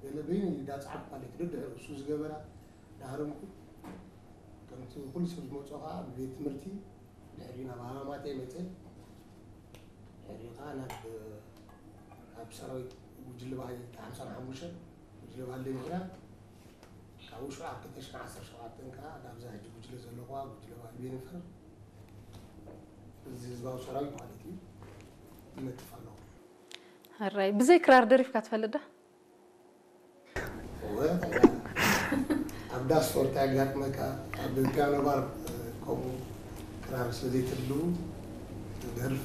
ገለ በይኑ እንዳፅዓፍ ማለት ደድሕሪ እሱ ዝገበራ ዳህረምኩ። ከምቲ ኩሉ ሰብ ዝመፅኦ ከዓ ብቤት ትምህርቲ ድሕሪ ናብ ሃማማተይ መፀ። ድሕሪ ከዓ ናብ ኣብ ሰራዊት ጉጅለ ባህሊ ሓምሳን ሓሙሽተን ጉጅለ ባህሊ ምክና ካብኡ ሽዑ ኣብ ክልተ ሽሕን ዓሰርተ ሸውዓተን ከዓ ናብዛ ሕጂ ጉጅለ ዘለኹዋ ጉጅለ ባህሊ ቤኒፈር እዚ ህዝባዊ ሰራዊት ማለት እዩ ይነጥፍ ኣለኹ። ሕራይ ብዘይ ክራር ደሪፍካ ትፈልጥ ዶ? ኣብ ዳስ ወርታ ያጋጥመካ ኣብ ፒያኖ ባር ከምኡ ክራር ስለዘይትህልው ትደርፍ።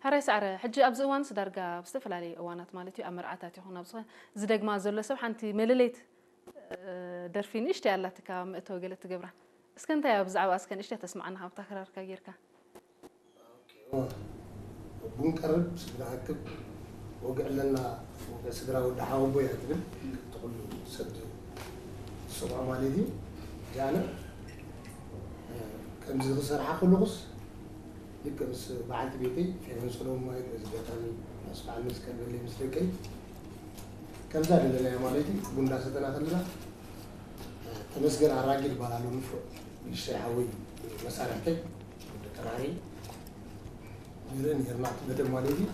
ሕራይ ሳዕረ፣ ሕጂ ኣብዚ እዋንስ ዳርጋ ኣብ ዝተፈላለዩ እዋናት ማለት እዩ ኣብ መርዓታት ይኹን ኣብ ዝኾነ ዝደግማ ዘሎ ሰብ ሓንቲ መለለይት ደርፊ ንእሽተይ ኣላትካ መእተዊ ገለ ትገብራ። እስከ እንታይ እያ ብዛዕባ እስከ ንእሽተይ ተስምዓና ካብታ ክራርካ ጌርካ? ቡን ቀርብ ስድራ ኣክብ ወግዕ ኣለና ወግዕ ስድራ ወዲ ሓወቦ እያ ትብል። ትኩሉ ሰብ ዝሰምዖ ማለት እዩ። ጃነ ከምዚ ክሰርሓ ከለኹስ ልክ ምስ በዓልቲ ቤተይ ፌቨን ሰሎሞን ማለት በዚ ኣጋጣሚ ምስ በዓል መስቀል በለይ ምስ ደቀይ ከምዛ ደለናዮ ማለት እዩ። ቡን እንዳሰተና ከለና ተመስገን ኣራጊ ዝበሃል ኣሎ ንፍዕ ንእሽተይ ሓወይ መሳርሕተይ ወዲ ቀራሪ ነይረ ነይርና እቲ መደብ ማለት እዩ።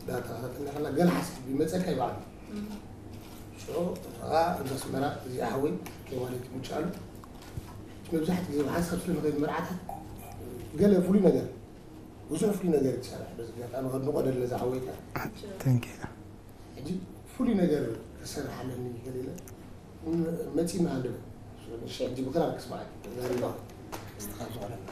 እንዳተኸታተልና ከለና ገለ ሓሳብ ይመፀካ ይበዓል ሽዑ ከዓ ኣብዚ ኣስመራ እዚ ሓወይ ከይ ማለት ይምችኣሉ መብዛሕትኡ ግዜ ብሓንሳብ ስለ ንኸይድ መርዓታት ገለ ፍሉይ ነገር ብዙሕ ፍሉይ ነገር ትሰርሕ በዚ ኣጋጣሚ ከድንቆ ደለ ዝሓወይታ Thank you. ሕጂ ፍሉይ ነገር ክሰርሕ ኣለኒ ገለ ኢለ መፂና ሃልበ ንሽ ሕጂ ብክራር ክስማዕ ዛሪባ ክስትኻል ዝኾነና